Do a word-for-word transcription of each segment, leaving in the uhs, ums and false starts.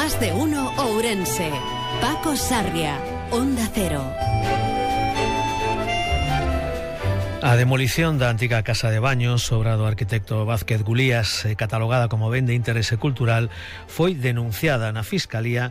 Más de uno Ourense. Paco Sarria, Onda Cero. A demolición da antiga casa de baños, obra do arquitecto Vázquez Gulías, catalogada como ben de interese cultural, foi denunciada na Fiscalía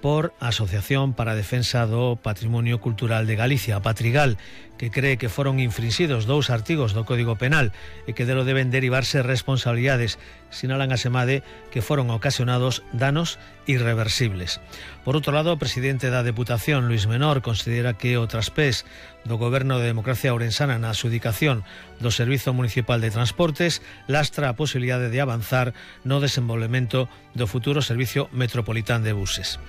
por a Asociación para a Defensa do Patrimonio Cultural de Galicia, a Patrigal, que cree que foron infrinxidos dous artigos do Código Penal e que delo deben derivarse responsabilidades. Sinalan a Semade que foron ocasionados danos irreversibles. Por outro lado, o presidente da Deputación, Luis Menor, considera que o traspés do Goberno de Democracia Ourensana na adxudicación do Servizo Municipal de Transportes lastra a posibilidade de avanzar no desenvolvemento do futuro Servicio Metropolitán de Buses.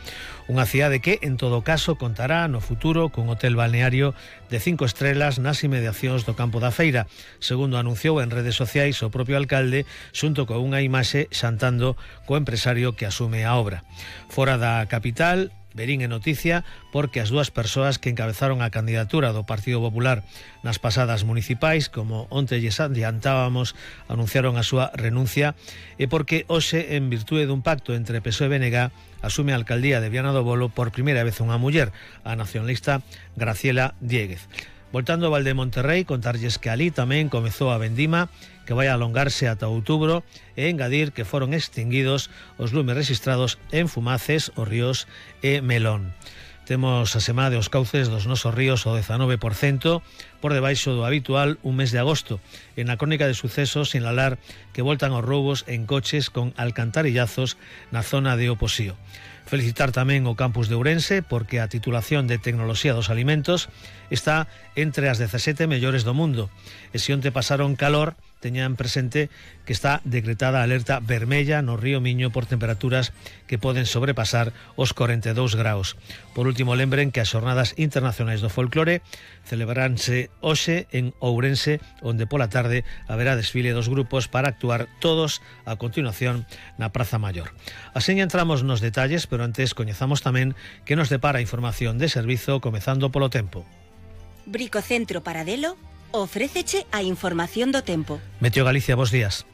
Unha cidade que, en todo caso, contará no futuro cun hotel balneario de cinco estrelas nas inmediacións do Campo da Feira, segundo anunciou en redes sociais o propio alcalde, xunto con unha imaxe xantando co empresario que asume a obra. Fora da capital, verín en noticia porque as dúas persoas que encabezaron a candidatura do Partido Popular nas pasadas municipais, como onte lles adiantábamos, anunciaron a súa renuncia, e porque hoxe, en virtude dun pacto entre P S O E e B N G, asume a alcaldía de Viana do Bolo por primeira vez unha muller, a nacionalista Graciela Diéguez. Voltando ao Val de Monterrey, contarlles que ali tamén comezou a vendima, que vai alongarse ata outubro, e engadir que foron extinguidos os lumes registrados en Fumaces, Os Ríos e Melón. Temos a semana de os cauces dos nosos ríos o dezanove por cento, por debaixo do habitual un mes de agosto. En a crónica de sucesos sinalar que voltan os roubos en coches con alcantarillazos na zona de Oposío. Felicitar tamén o campus de Ourense porque a titulación de Tecnoloxía dos Alimentos está entre as dezasete mellores do mundo. E se onte pasaron calor, teñan presente que está decretada a alerta vermella no río Miño por temperaturas que poden sobrepasar os corenta e dous graus. Por último, lembren que as Xornadas Internacionais do Folclore celebraránse hoxe en Ourense, onde pola tarde haberá desfile dos grupos para actuar todos a continuación na Praza Maior. Así entramos nos detalles, pero antes coñezamos tamén que nos depara a información de servizo, comezando polo tempo. Bricocentro Paradelo ofréceche a información do tempo. Meteo Galicia, bos días.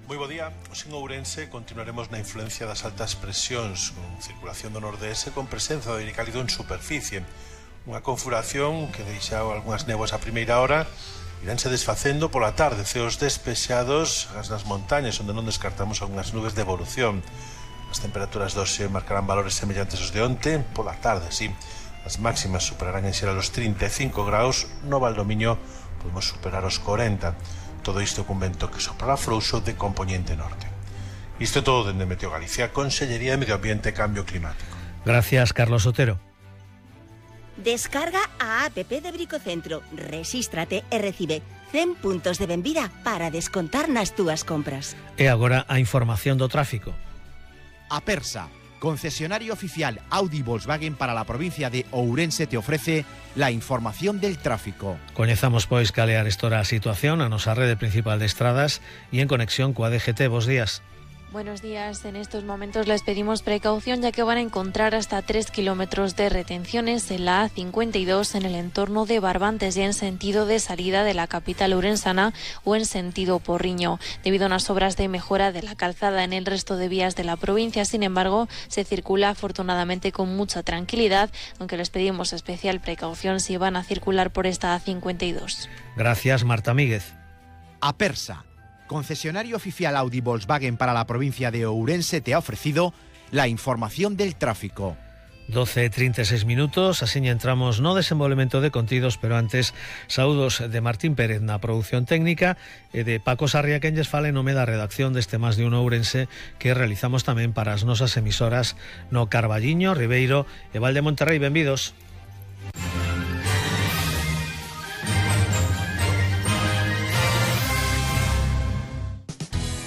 Moi bo día. Os en Ourense continuaremos na influencia das altas presións, con circulación do nordeste con presenza do aire cálido en superficie. Unha confuración que deixa algunhas néboas a primeira hora, iránse desfacendo pola tarde, ceos despexados nas montañas, onde non descartamos algunhas nubes de evolución. As temperaturas doxe marcarán valores semellantes aos de onte, pola tarde, sí. As máximas superarán en xeral os trinta e cinco graus, no Valdomiño podemos superar os corenta. Todo isto cun vento que soprará frouxo de compoñente norte. Isto é todo dende Meteo Galicia, Consellería de Medio Ambiente e Cambio Climático. Gracias, Carlos Otero. Descarga a app de Bricocentro, rexístrate e recibe cen puntos de benvida para descontar nas túas compras. E agora a información do tráfico. Apersa, concesionario oficial Audi Volkswagen para la provincia de Ourense, te ofrece la información del tráfico. Coñezamos, pois, cal é a estora a situación a nosa rede principal de estradas e en conexión coa D G T. Bos días. Buenos días. En estos momentos les pedimos precaución, ya que van a encontrar hasta tres kilómetros de retenciones en la A cincuenta y dos en el entorno de Barbantes, ya en sentido de salida de la capital ourensana o en sentido Porriño. Debido a unas obras de mejora de la calzada en el resto de vías de la provincia, sin embargo, se circula afortunadamente con mucha tranquilidad, aunque les pedimos especial precaución si van a circular por esta A cincuenta y dos. Gracias, Marta Míguez. Apersa, concesionario oficial Audi Volkswagen para la provincia de Ourense, te ha ofrecido la información del tráfico. doce e trinta e seis minutos, así entramos no desenvolvemento de contidos, pero antes, saúdos de Martín Pérez na produción técnica e de Paco Sarria, quen lles fala en nome da redacción deste Más de Uno Ourense, que realizamos tamén para as nosas emisoras no Carballiño, Ribeiro e Val de Monterrey. Benvidos.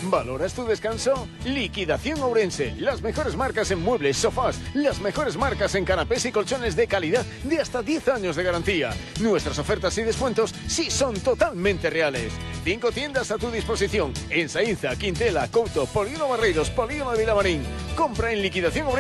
¿Valoras tu descanso? Liquidación Ourense. Las mejores marcas en muebles, sofás, las mejores marcas en canapés y colchones de calidad de hasta diez años de garantía. Nuestras ofertas y descuentos sí son totalmente reales. Cinco tiendas a tu disposición en Saínza, Quintela, Couto, Polígono Barreiros, Polígono de Vilamarín. Compra en Liquidación Ourense.